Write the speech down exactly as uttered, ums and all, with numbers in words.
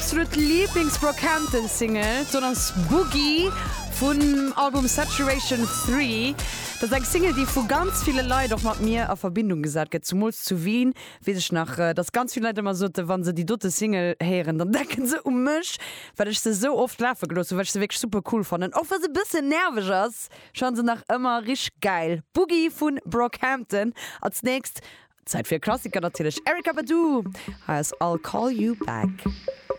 absolut Lieblings-Brockhampton-Single, dat ass Boogie vum Album Saturation dräi. Dat ass eng Single, déi vu ganz ville Leit och mat mir a Verbindung gesat gëtt, zumools zu Wien, weess ech nach, äh, dass ganz vill Leit ëmmer soten, wann se déi dote Single héieren, dann denken se u mech, well ech se sou oft lafe gelooss hunn, well ech se wierklech super cool fannen. Och wa se e bëssen nerveg ass, schonn se nach ëmmer richteg geil. Boogie vun Brockhampton. Als nächst Zäit fir Klassiker natierlech. Erykah Badu. Hei ass I'll Call You Back.